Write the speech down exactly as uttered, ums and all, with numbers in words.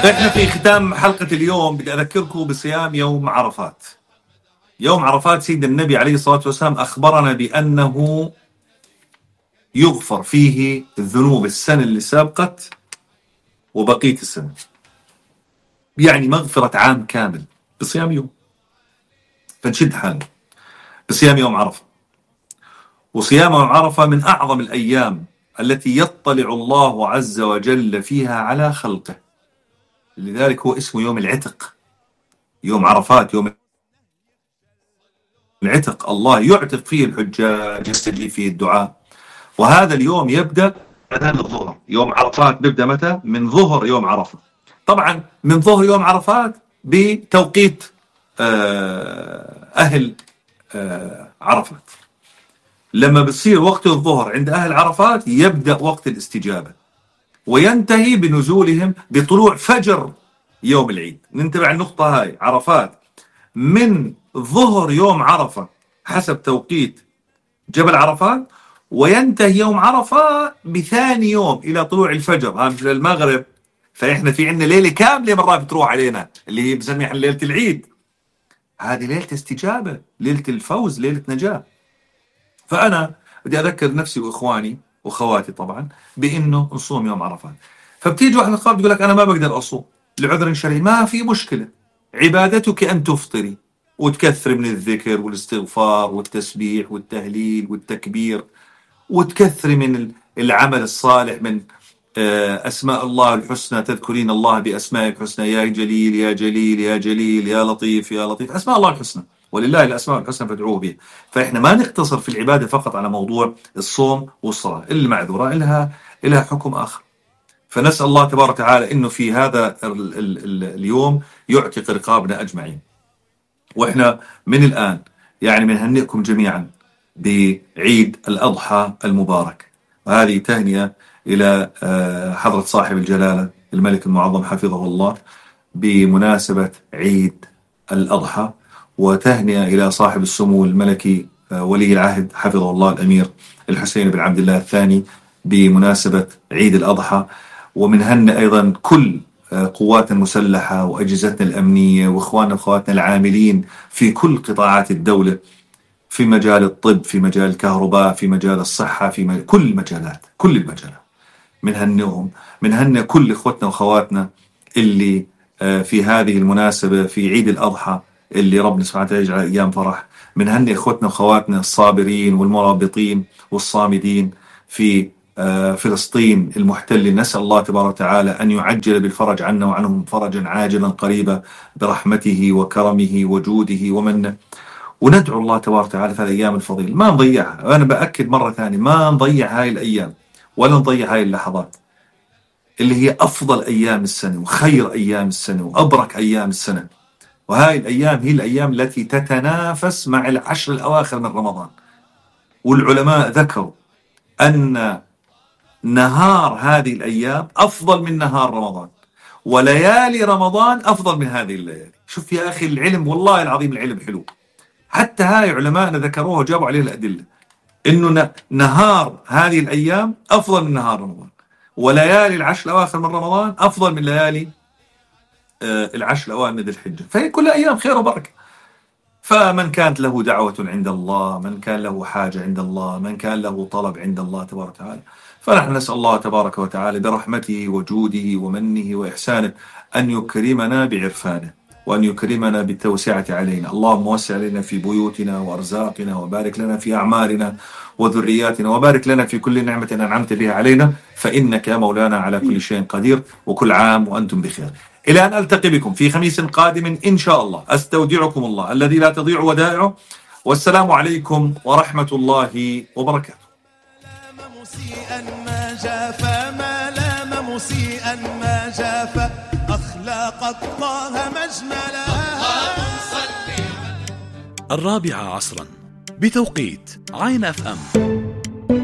احنا في ختام حلقة اليوم بدي اذكركم بصيام يوم عرفات. يوم عرفات سيدنا النبي عليه الصلاة والسلام اخبرنا بانه يغفر فيه الذنوب السنة اللي سابقت وبقية السنة، يعني مغفرة عام كامل بصيام يوم. فنشد حالنا بصيام يوم عرفة. وصيام يوم عرفة من اعظم الايام التي يطلع الله عز وجل فيها على خلقه، لذلك هو اسمه يوم العتق. يوم عرفات يوم العتق، الله يعتق فيه الحجاج، يستجيب فيه الدعاء. وهذا اليوم يبدأ أذان الظهر. يوم عرفات بيبدأ متى؟ من ظهر يوم عرفة. طبعا من ظهر يوم عرفات بتوقيت أهل عرفات. لما بصير وقت الظهر عند أهل عرفات يبدأ وقت الاستجابة، وينتهي بنزولهم بطلوع فجر يوم العيد. ننتبه على النقطة هاي. عرفات من ظهر يوم عرفة حسب توقيت جبل عرفات، وينتهي يوم عرفة بثاني يوم إلى طلوع الفجر، ها مثل المغرب. فإحنا في عندنا ليلة كاملة مرات بتروح علينا اللي هي بسميها ليلة العيد. هذه ليلة استجابة، ليلة الفوز، ليلة نجاة. فأنا بدي أذكر نفسي وإخواني وخواتي طبعا بأنه نصوم يوم عرفات. فبتيجي واحد الخاف تقول لك أنا ما بقدر أصوم لعذر شرعي، ما في مشكلة. عبادتك أن تفطري وتكثر من الذكر والاستغفار والتسبيح والتهليل والتكبير، وتكثر من العمل الصالح من أسماء الله الحسنى. تذكرين الله بأسماء الحسنى، يا جليل يا جليل يا جليل يا لطيف يا لطيف، أسماء الله الحسنى، ولله الأسماء الحسنى فادعوه بها. فإحنا ما نقتصر في العبادة فقط على موضوع الصوم والصلاة. اللي معذورة إلها إلها حكم آخر. فنسأل الله تبارك وتعالى إنه في هذا ال ال ال اليوم يعتق رقابنا أجمعين. وإحنا من الآن يعني بنهنئكم جميعا بعيد الأضحى المبارك. وهذه تهنئة إلى حضرة صاحب الجلالة الملك المعظم حفظه الله بمناسبة عيد الأضحى، وتهنئة إلى صاحب السمو الملكي ولي العهد حفظه الله الأمير الحسين بن عبد الله الثاني بمناسبة عيد الأضحى. ومنهن أيضا كل قواتنا المسلحة وأجهزتنا الأمنية وإخواننا وأخواتنا العاملين في كل قطاعات الدولة، في مجال الطب، في مجال الكهرباء، في مجال الصحة، في مجال كل المجالات، كل المجالات منهنهم. منهن كل إخوتنا وأخواتنا اللي في هذه المناسبة في عيد الأضحى اللي ربنا سبحانه وتعالى يجعل أيام فرح. منهن إخوتنا وأخواتنا الصابرين والمرابطين والصامدين في فلسطين المحتلة. نسأل الله تبارك وتعالى أن يعجل بالفرج عنا وعنهم فرجا عاجلا قريبا برحمته وكرمه وجوده ومنه. وندعو الله تبارك وتعالى في هذه الأيام الفضيلة ما نضيعها. أنا بأكد مرة ثانية ما نضيع هاي الأيام ولا نضيع هاي اللحظات اللي هي أفضل أيام السنة وخير أيام السنة وأبرك أيام السنة. وهاي الأيام هي الأيام التي تتنافس مع العشر الأواخر من رمضان. والعلماء ذكروا أن نهار هذه الأيام أفضل من نهار رمضان، وليالي رمضان أفضل من هذه الليالي. شوف يا أخي العلم، والله العظيم العلم حلو. حتى هاي علماءنا ذكروها وجابوا عليه الأدلة إنه نهار هذه الأيام أفضل من نهار رمضان، وليالي العشر الأواخر من رمضان أفضل من ليالي آه العشر الأوائل من ذي الحجة. فهي كل أيام خير وبركة. فمن كانت له دعوة عند الله، من كان له حاجة عند الله، من كان له طلب عند الله تبارك وتعالى، فنحن نسأل الله تبارك وتعالى برحمته وجوده ومنه وإحسانه أن يكرمنا بعرفانه، وأن يكرمنا بالتوسعة علينا. اللهم وسع علينا في بيوتنا وأرزاقنا، وبارك لنا في أعمارنا وذرياتنا، وبارك لنا في كل نعمة أنعمت بها علينا، فإنك يا مولانا على كل شيء قدير. وكل عام وأنتم بخير. إلى أن ألتقي بكم في خميس قادم إن شاء الله. أستودعكم الله الذي لا تضيع ودائعه، والسلام عليكم ورحمة الله وبركاته. مسيئا ما جاف ما لام مسيئا ما جاف أخلاق الله مجملها. الرابعة عصرا بتوقيت عين أف أم.